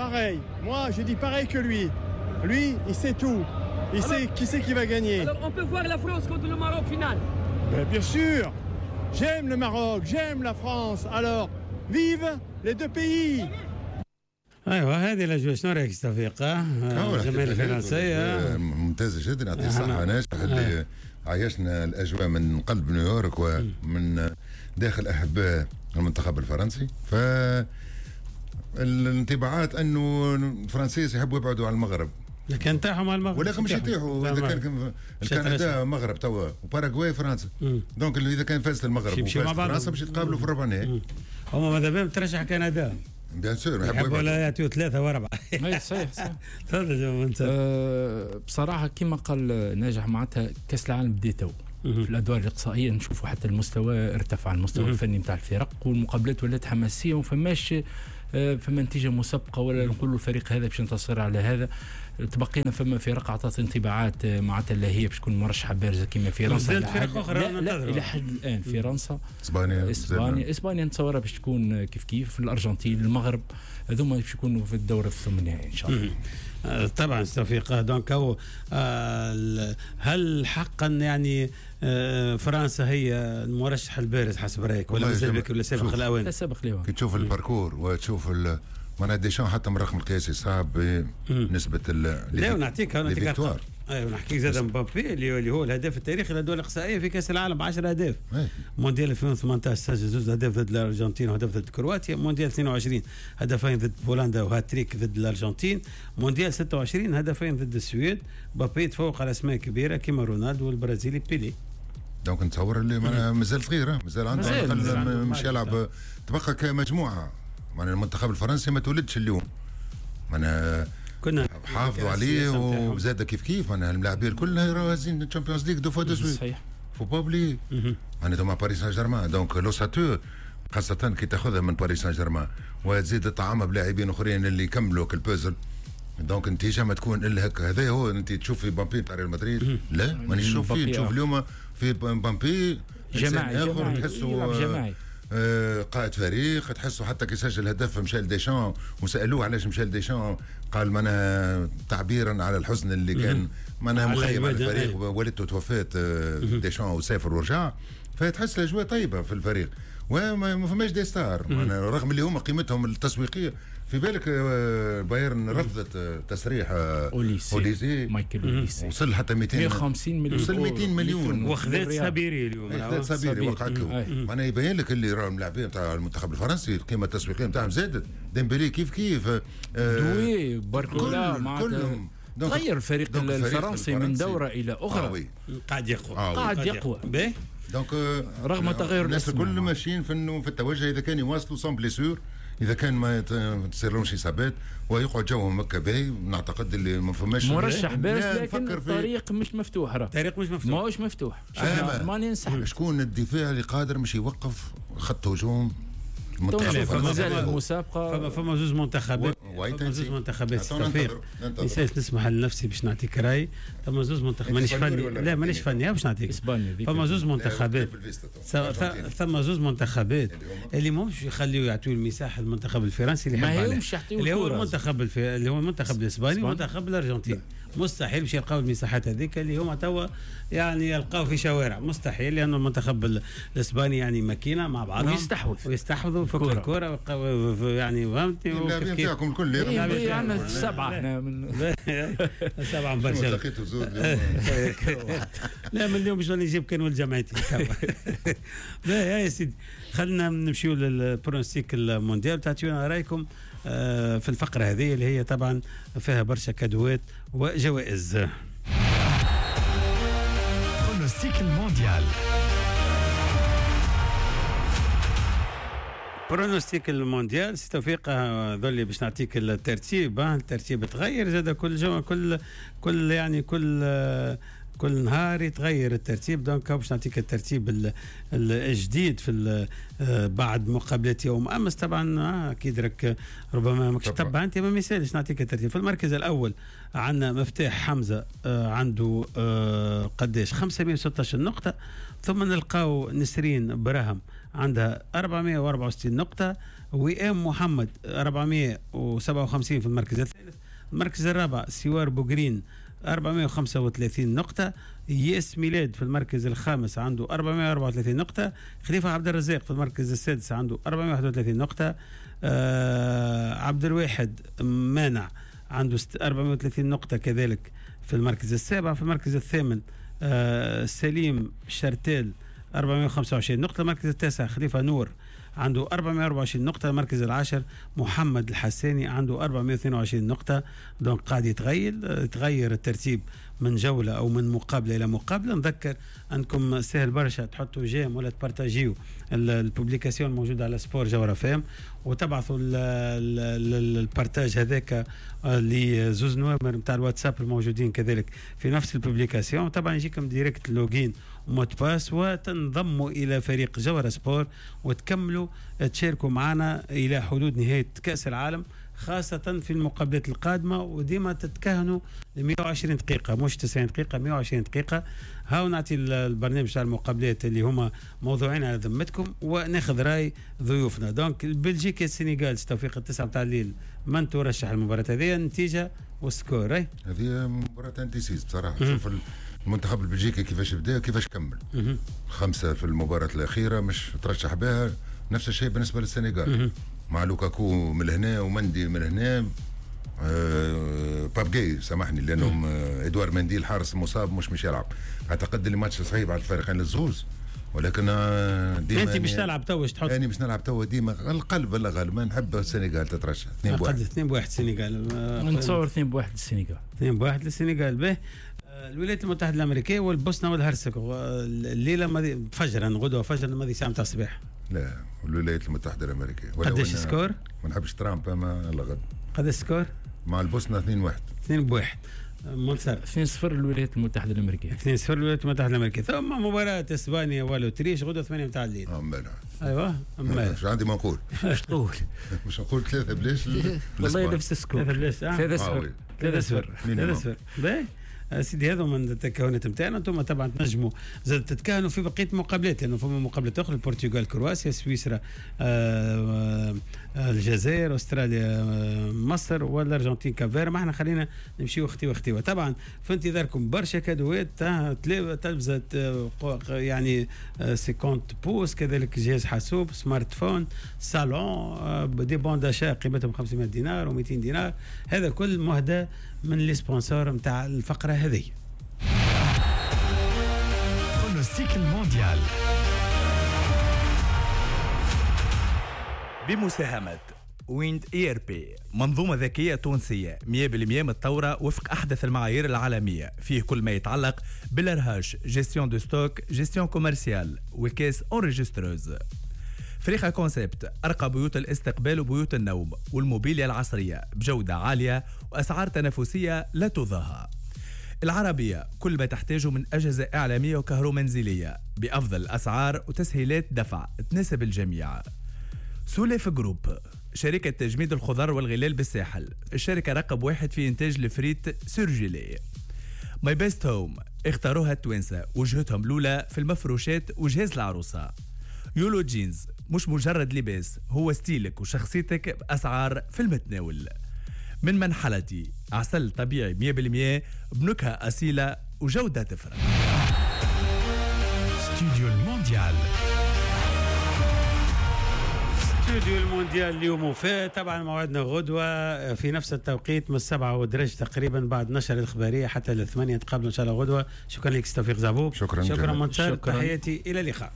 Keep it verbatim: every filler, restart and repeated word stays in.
Pareil, moi je dis pareil que lui. Lui, il sait tout. Il alors, sait qui c'est qui va gagner. Alors on peut voir la France contre le Maroc finale. Ben, bien sûr. J'aime le Maroc, j'aime la France. Alors, vive les deux pays. ايوه هذه الاجواء. شنو رايك توفيق؟ الجماهير الفرنسية ممتازة جدا، يعطيه الصحة ناجح اللي عايشنا الاجواء من قلب نيويورك ومن داخل احباء المنتخب الفرنسي. ف الانطباعات انه الفرنسيس يحبوا يبعدوا على المغرب، لكن طاحوا مع المغرب، ولكن مش يطيحوا. اذا كان كندا مغرب توا وباراغواي فرنسا، donc اذا كان فازت المغرب وفازت فرنسا باش يتقابلوا في الربع النهائي. هما ماذا بهم ترشح كندا bien sûr، يحبوا لا يعطيو ثلاثة وأربعة. اي صحيح صحيح. تفضل أه بصراحة كما قال ناجح معناتها كأس العالم بدا تو في الأدوار الإقصائية نشوفوا حتى المستوى ارتفع، المستوى الفني نتاع الفرق والمقابلات ولات حماسية وفماش فما نتيجة مسبقة ولا نقولوا الفريق هذا باش ينتصر على هذا. تبقينا فما فرق عطات انطباعات معناتها اللي هي باش تكون مرشحة بارزة كما فرنسا. فرق اخرى لا, لا الى حد الان فرنسا، اسبانيا، اسبانيا اسبانيا نتصورها باش تكون كيف كيف، في الارجنتين، المغرب، هذوما باش يكونوا في الدور الثمن النهائي ان شاء الله. طبعا توفيق. donc هو هل حقا يعني فرنسا هي المرشح البارز حسب رايك ولا مازال بك ولا سابق الاوان؟ لا سابق الاوان. كي تشوف ال parcours وتشوف معناها ديشان حتى من الرقم القياسي صعب بنسبة لا ونعطيك نعطيك ايوه ونحكيك زاد مبابي اللي هو الهداف التاريخي للدول الاقصائية في كاس العالم عشرة اهداف. مونديال ألفين وثمانية عشر سجل زوج اهداف ضد الارجنتين وهدف ضد كرواتيا. مونديال اثنين وعشرين هدفين ضد بولندا وهاتريك ضد الارجنتين. مونديال ستة وعشرين هدفين ضد السويد. مبابي تفوق على اسماء كبيرة كما رونالدو والبرازيلي بيلي. donc نتصور اللي مازال صغير، مازال عنده على الاقل مش يلعب، تبقى كمجموعة. معناها المنتخب الفرنسي ما تولدش اليوم، معناها كنا حافظوا عليه وزاد كيف كيف. معناها الملاعبين الكل راهو هازين ال Champions League deux fois de suite، صحيح، faut pas oublier معناتها مع باريس سان جيرمان. donc l'ossature خاصة كي تاخذها من باريس سان جيرمان وتزيد تطعمها بلاعبين اخرين اللي يكملوا ال puzzle، donc النتيجة ما تكون الا هكا. هذا هو انت تشوف في مبابي تاع ريال مدريد، لا مانيش نشوف فيه. نشوف اليوم في مبابي جماعي اخر تحسه جماعي، آه قائد فريق، تحسه حتى كي سجل هدف مشى لديشان وسالوه علاش مشى لديشان، قال معناها تعبيرا على الحزن اللي كان معناها مخيم على الفريق، والدته توفات ديشان وسافر ورجع، فتحس الاجواء طيبة في الفريق وما فماش des stars. معناها رغم اللي هما قيمتهم التسويقية في بالك بايرن رفضت تصريح اوليسي, أوليسي. مايكل اوليسي وصل حتى مئتين وخمسين مليون، وصل مئتين مليون وخذت سابيري اليوم، خذت سابيري وقعت له. معناها يبين لك اللي راهم اللاعبين نتاع المنتخب الفرنسي القيمة التسويقية نتاعهم زادت. ديمبلي كيف كيف، دوي، باركولا، كلهم تغير الفريق الفرنسي من دوره الى اخرى، قاعد يقوى، قاعد يقوى باهي. donc رغم تغير الناس الكل ماشيين في في التوجه، اذا كان يواصلوا sans blessures، اذا كان ما تصير لهمش اصابات ويقعد جوهم هكا باهي، نعتقد اللي ما فماش مرشح بارز، لكن الطريق مش مفتوح، راه الطريق مش مفتوح، ماهوش مفتوح. ماني ننسحب. شكون الدفاع اللي قادر مش يوقف خط هجوم المنتخب؟ مازال المسابقة فما فما زوج منتخبات، فما زوج منتخبات توفيق نسمح لنفسي باش نعطيك راي. فما زوج منتخبات مانيش فني، لا مانيش فني باش نعطيك. فما زوج منتخبات، ثم زوج منتخبات اللي ماهمش يخليو يعطيو المساحة للمنتخب الفرنسي اللي يحب عليه، اللي هو المنتخب اللي هو المنتخب الاسباني والمنتخب الارجنتيني. مستحيل باش يلقاو المساحات هذيك اللي هما توا يعني يلقاو في شوارع، مستحيل، لانه المنتخب الاسباني يعني ماكينة مع بعضهم ويستحوذ ويستحوذوا في الكره يعني فهمتني. اللاعبين نتاعكم الكل عندنا سبعة احنا من سبعة من برشلونة لا من اليوم باش نجيب كان ولد جمعيتي. لا يا سيدي خلينا نمشيو لل pronostic المونديال، تعطيونا رايكم في الفقرة هذه اللي هي طبعا فيها برشا cadeau ات وجوائز. pronostic المونديال، pronostic المونديال سي توفيق ذولي باش نعطيك الترتيب. الترتيب تغير زاد كل جو كل كل يعني كل كل نهار يتغير الترتيب. donc باش نعطيك الترتيب الجديد في بعد مقابله يوم امس. طبعا اكيد راك ربما ماكش تتبع انت، ما يسالش نعطيك الترتيب. في المركز الاول عندنا مفتاح حمزة عنده قداش خمسمية وستة عشر نقطة، ثم نلقاو نسرين براهم عندها أربعمية وأربعة وستين نقطة، وئام محمد أربعمية وسبعة وخمسين في المركز الثالث. المركز الرابع سوار بوغرين أربعمية وخمسة وثلاثين نقطة. ياس ميلاد في المركز الخامس عنده أربعمية وأربعة وثلاثين نقطة. خليفة عبد الرزاق في المركز السادس عنده أربعمية وواحد وثلاثين نقطة. آه عبد الواحد مانع عنده أربعمية وثلاثين نقطة كذلك في المركز السابع. في المركز الثامن آه سليم شرتيل أربعمية وخمسة وعشرين نقطة. المركز التاسع خليفة نور عنده أربعمية وأربعة وعشرين نقطة. المركز العاشر محمد الحساني عنده أربعمية واثنين وعشرين نقطة. donc قاعد يتغير يتغير الترتيب من جولة أو من مقابلة إلى مقابلة. نذكر أنكم سهل برشا تحطوا j'aime ولا تبارتاجيو ال publication الموجودة على سبور جوهرة فام، وتبعثوا ال partage هذاك لزوز نوامر نتاع الواتساب الموجودين كذلك في نفس ال publication. طبعا يجيكم direct login mot de passe وتنضموا إلى فريق جوهرة سبور وتكملوا تشاركوا معنا إلى حدود نهاية كأس العالم، خاصة في المقابلات القادمة. وديما تتكهنوا ل مية وعشرين دقيقة مش تسعين دقيقة، مية وعشرين دقيقة. هاو نعطي البرنامج تاع المقابلات اللي هما موضوعين على ذمتكم وناخذ راي ضيوفنا. donc بلجيكا السنغال توفيق التسعة متاع الليل، من ترشح المباراة هذه؟ النتيجة وال score. هذه مباراة indécise بصراحة. شوف المنتخب البلجيكي كيفاش بدا كيفاش كمل. مم. خمسة في المباراة الأخيرة مش ترشح بها. نفس الشيء بالنسبة للسنغال مع لوكاكو من هنا ومندي من هنا، آه بابجي سامحني لأنهم آه إدوار مندي الحارس المصاب مش مش يلعب. أعتقد اللي ماتش صعيب على الفريقين الزوز، ولكن ديما انت باش تلعب تو تحط انا باش نلعب تو ديما القلب لا غالب. ما نحب السنغال تترشح اثنين بواحد. اثنين بواحد السنغال، نتصور اثنين بواحد السنغال، اثنين بواحد للسنغال. به الولايات المتحدة الأمريكية والبوسنة والهرسك الليلة فجرا، غدوة فجرا ماضي ساعة متاع الصباح. لا الولايات المتحدة الأمريكية. قداش score؟ ما نحبش ترامب أما الله غد. قداش score؟ مع البوسنة اثنين واحد. اثنين بواحد. منصر اثنين صفر الولايات المتحدة الأمريكية. اثنين صفر الولايات المتحدة الأمريكية. ثم مباراة إسبانيا والأوتريش غدوة ثمانية متاع الليل. اه مالا. ايوه مالا. مش عندي ما نقول. مش تقول؟ مش نقول ثلاثة بلاش. والله نفس ال score. ثلاثة بلاش. ثلاثة صفر. ثلاثة صفر. ثلاثة صفر. باهي. سيدي هذو من التكهنات نتاعنا. انتم طبعا تنجموا زاد تتكهنوا في بقية المقابلات، لانه فما مقابلات اخرى: البرتغال كرواتيا، سويسرا آه، آه، الجزائر، استراليا آه، مصر، والارجنتين كافير. ما احنا خلينا نمشيو اختي واختي. طبعا في انتظاركم برشا كادوات، تلفزه يعني خمسين pouces، كذلك جهاز حاسوب، smartphone، صالون، des bons d'achat قيمتهم خمسمية دينار ومئتين دينار. هذا كل مهدى من les sponsors نتاع الفقرة هذه. pronostic المونديال بمساهمة ويند اي ار بي، منظومة ذكية تونسية مية بالمية متطورة وفق أحدث المعايير العالمية، فيه كل ما يتعلق بال RH، gestion de stock، gestion commerciale وال caisse enregistreuse. فريخة كونسبت، أرقى بيوت الاستقبال وبيوت النوم والموبيليا العصرية بجودة عالية وأسعار تنافسية لا تضاهى. العربية، كل ما تحتاجه من أجهزة إعلامية وكهرومنزلية بأفضل الأسعار وتسهيلات دفع تناسب الجميع. سوليف جروب، شركة تجميد الخضار والغلال بالساحل، الشركة رقم واحد في إنتاج ال frites surgelées. ماي بيست هوم، اختاروها التوانسة، وجهتهم الأولى في المفروشات وجهاز العروسة. يولو جينز، مش مجرد لباس، هو ستيلك وشخصيتك بأسعار في المتناول. من منحلتي، عسل طبيعي مية بالمية بنكهة أصيلة وجودة تفرق. استوديو المونديال. استوديو المونديال اليوم وفاء. طبعا موعدنا غدوة في نفس التوقيت من السبعة ودرج تقريبا بعد نشر الإخبارية حتى الثمانية. نتقابلوا إن شاء الله غدوة. شكرا لك توفيق زعبوب. شكرا. شكرا منتصر. تحياتي، إلى اللقاء.